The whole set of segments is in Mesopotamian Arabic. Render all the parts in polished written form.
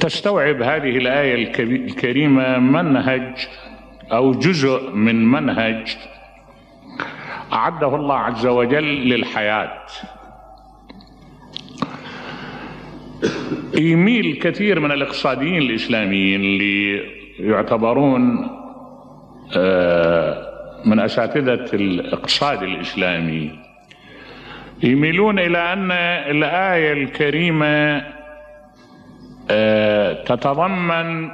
تستوعب هذه الآية الكريمة منهج أو جزء من منهج أعده الله عز وجل للحياة. يميل كثير من الاقتصاديين الإسلاميين اللي يعتبرون من أساتذة الاقتصاد الإسلامي يميلون إلى أن الآية الكريمة تتضمن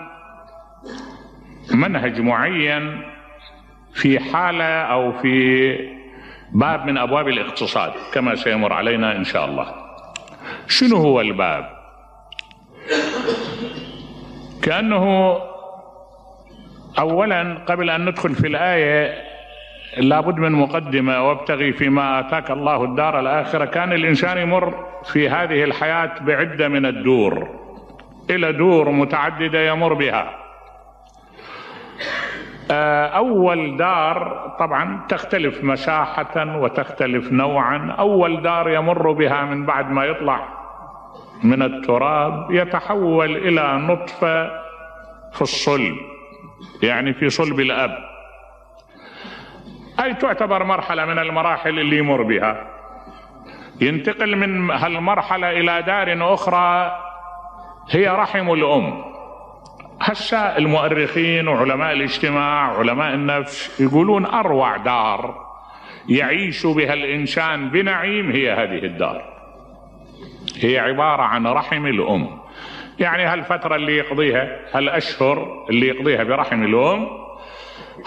منهج معين في حالة أو في باب من أبواب الاقتصاد كما سيمر علينا إن شاء الله. شنو هو الباب؟ كأنه أولا قبل أن ندخل في الآية لابد من مقدمة: وابتغي فيما آتاك الله الدار الآخرة. كان الإنسان يمر في هذه الحياة بعدة من الدور، إلى دور متعددة يمر بها. أول دار طبعا تختلف مساحة وتختلف نوعا. أول دار يمر بها من بعد ما يطلع من التراب يتحول إلى نطفة في الصلب، يعني في صلب الأب، أي تعتبر مرحلة من المراحل اللي يمر بها. ينتقل من هالمرحلة إلى دار أخرى هي رحم الأم. هسه المؤرخين وعلماء الاجتماع علماء النفس يقولون أروع دار يعيش بها الإنسان بنعيم هي هذه الدار، هي عبارة عن رحم الأم. يعني هالفترة اللي يقضيها، هالأشهر اللي يقضيها برحم الأم،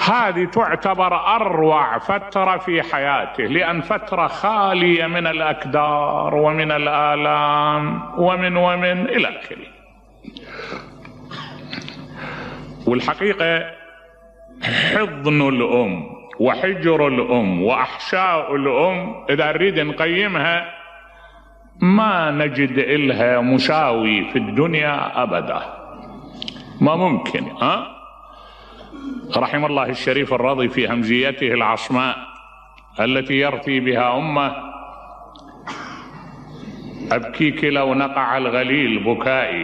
هذه تعتبر أروع فترة في حياته، لأن فترة خالية من الأكدار ومن الآلام ومن إلى آخره. والحقيقة حضن الأم وحجر الأم وأحشاء الأم إذا نريد نقيمها ما نجد إلها مساوي في الدنيا أبدا، ما ممكن. رحم الله الشريف الرضي في همزيته العصماء التي يرثي بها أمه: أبكيك لو نقع الغليل بكائي